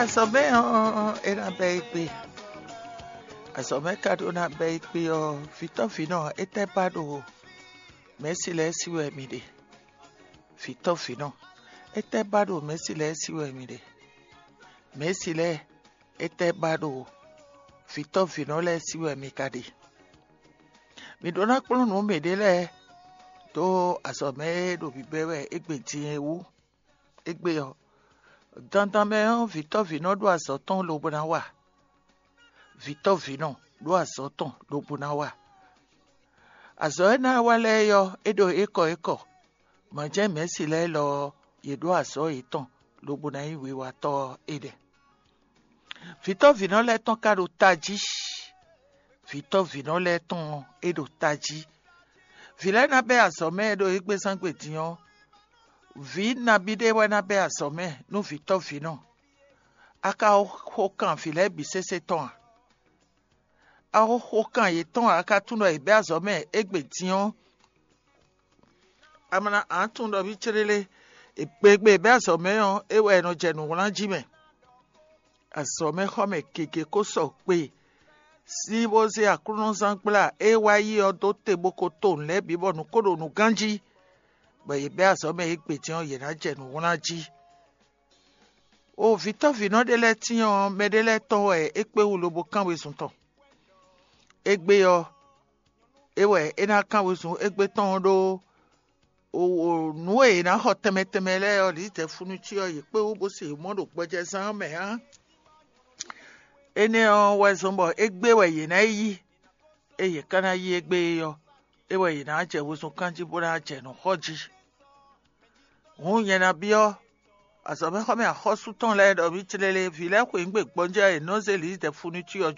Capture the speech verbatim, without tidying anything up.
Azɔ̌mɛ ɔ́, é ná bɛ́ égbé. Azɔ̌mɛ ka ɖó ná bɛ́ égbé ɔ́, vǐtɔ́vǐnɔ, étɛ́ ba ɖo mɛ̌si lɛ́ɛ sí wɛ mi ɖe? Vǐtɔ́vǐnɔ, étɛ́ ba ɖo mɛ̌si lɛ́ɛ sí wɛ mi ɖe? Mɛ̌si lɛ́ɛ, étɛ́ ba ɖo vǐtɔ́vǐnɔ lɛ́ɛ sí wɛ mi ka ɖe? Mi ɖó ná kplɔ́n nǔ mǐɖée lɛ́ɛ dó azɔ̌mɛ e ɖo bǐbɛ́ wɛ égbé din é wú. Égbé ɔ́, dandan mɛ ɔ́, vǐtɔ́vǐnɔ ɖó azɔ̌ tɔn lobo ná wa. Vǐtɔ́vǐnɔ ɖó azɔ̌ tɔn lobo ná wa. Azɔ̌ e ná wa lɛ́ɛ ɔ́, é ɖo ékɔ ékɔ. Mɔ̌ jɛ́n mɛ̌si lɛ́ɛ lɔ ɔ́, yě ɖó azɔ̌ yětɔn lobo ná nyí wiwatɔ́ ɔ́ é ɖɛ. Vǐtɔ́vǐnɔ lɛ́ɛ tɔn ka ɖo tají. Vǐtɔ́vǐnɔ lɛ́ɛ tɔn ɔ́, é ɖo tají. Vǐ lɛ́ɛ ná bɛ́ azɔ̌ mɛ ɖo égbézán gbe din ɔ́, vǐ nabí ɖé wɛ ná bɛ́ azɔ̌ mɛ nú vǐtɔ́vǐnɔ. A ka xo kan vǐ lɛ́ɛ bǐ sésé tɔn a? A xo xo kan yětɔn ǎ, a ka tunwun ɖɔ è bɛ́ azɔ̌ mɛ égbé din ɔ́, a ma ná tunwun ɖɔ mì céɖélé. Gbegbe è bɛ́ azɔ̌ mɛ ɔ́, é wɛ è nɔ jɛ nǔwlán jí mɛ. Azɔ̌mɛxɔmɛ gěgé ko sɔgbe sín bó zé Aklúnɔzángbla e wá yi ɔ́ dó te bó ko to nǔ lɛ́ɛ bǐ bɔ nǔ ko ɖo nǔ ganjí, bɔ yě bɛ́ azɔ̌ mɛ égbé din ɔ́, yě ná jɛ nǔ wlán jí. O vǐtɔ́vǐnɔ ɖé lɛ́ɛ tíin ɔ́, mɛɖé lɛ́ɛ tɔn wɛ é kpé wú lobo kán wezun tɔn. Égbé ɔ́, é wɛ é ná kán wezun égbé tɔn ɔ́ ɖó nǔ e è nǎ xɔ tɛnmɛ tɛnmɛ lɛ́ɛ ɔ́, lǐdɛ̌ fúnúcí ɔ́, yě kpé wú bó se mɔ̌ ɖo gbɔjɛzán ɔ́ mɛ ǎ. Énɛ́ ɔ́ wɛ zɔ́n bɔ égbé wɛ yě ná yi yí. Ée yě ka ná yí égbé é ɔ́, é wɛ yě ná jɛ wezun kán jí bó ná jɛ nǔ xɔ jí. Hǔn nyɛ ná byɔ́ azɔ̌mɛxɔmɛ axɔ́sú tɔn lɛ́ɛ ɖɔ mì tlélé, vǐ lɛ́ɛ xweyǐgbe gbɔjɛ́ e è nɔ́ zé lǐdɛ̌ fúnúcí ɔ́